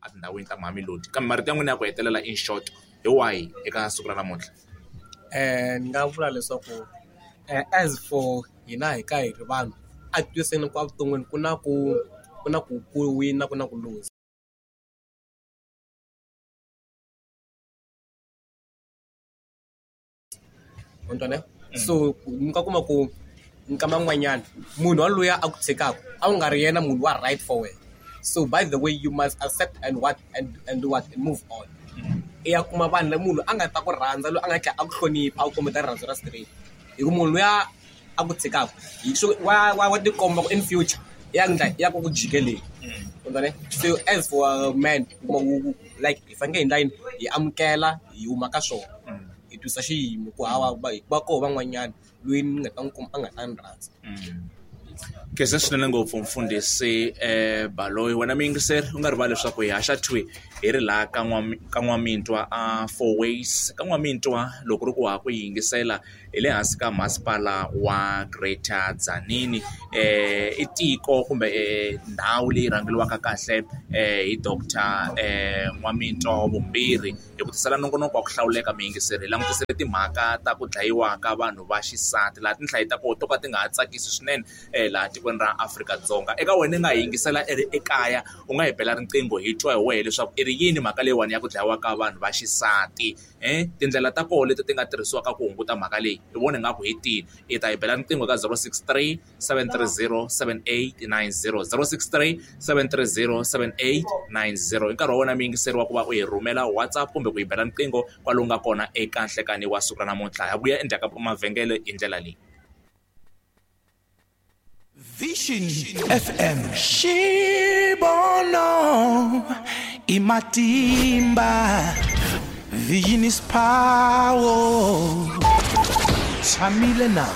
etindhawini ta Mamelodi. Kambe marito ya n'wina ya ku hetelela in short hi wahi eka siku ra namuntlha? Ni nga vula leswaku as for hina hi ka hi ri vanhu a hi twisiseni ku evuton'wini ku na ku ku na ku ku wina ku na ku luza. Ma ni twa ne? So mi nga kuma ku nkama wun'wanyana munhu yaloye a ku tshikaka a ku nga ri yena munhu wa right for wena. So by the way you must accept and what and do what and move on. I ya kuma vanhu lava munhu a nga ta ku rhandza loyi a nga tlhela a ku hlonipha a ku kombeta rirhandzu ra straight. Hi ku munhu luya a ku tshikaka hi wa wa wa tikomba ku in future ya endla ya ku ku jikeleni. Ma ni twa ne? So as for a man u kuma ku like hi fanekele hi endla yini hi amukela hi huma ka swona hi twisa xiyimo ku hawa va koho van'wanyana loyi ni nga ta n'wi kuma a nga ta ni rhandza. Khensa swinene ngopfu mfundhisi Baloyi wena muyingiseri u nga rivali leswaku hi haxa thwi hi ri laha ka ka N'wamitwa a Four Ways ka N'wamitwa loko ri ku ha ku yingisela hi le hansi ka masipala wa Greater Tzaneen i tiko kumbe ndhawu leyi rhangeriwaka kahle hi doctor N'wamitwa wa vumbirhi hi ku tisela nongonoko wa ku hlawuleka muyingiseri hi langutisile timhaka ta ku dlayiwa ka vanhu va xisati laha tinhlayo ta kona to ka ti nga ha tsakisi swinene laha tikweni ra Afrika-Dzonga eka wena i nga yingisela i ri ekaya u nga hi bela riqingho hi twa hi wehe leswaku i ri yini mhaka leyiwani ya ku dlayiwa ka vanhu va xisati. Tindlela ta kona leti ti nga tirhisiwaka ku hunguta mhaka leyi i vona ingaku hi tihi i ta yi bela riqingho ka 063 730 7890 063 730 7890 i nkarhi wa wena muyingiseri wa ku va u hi rhumela WhatsApp kumbe ku yi bela riqingho kwale u nga kona eka nhlekani wa siku ra namuntlha ha vuya endzhaku ka mavhengele hi ndlela leyi. Vision FM Xibono i matimba Vision is power Tshamile na.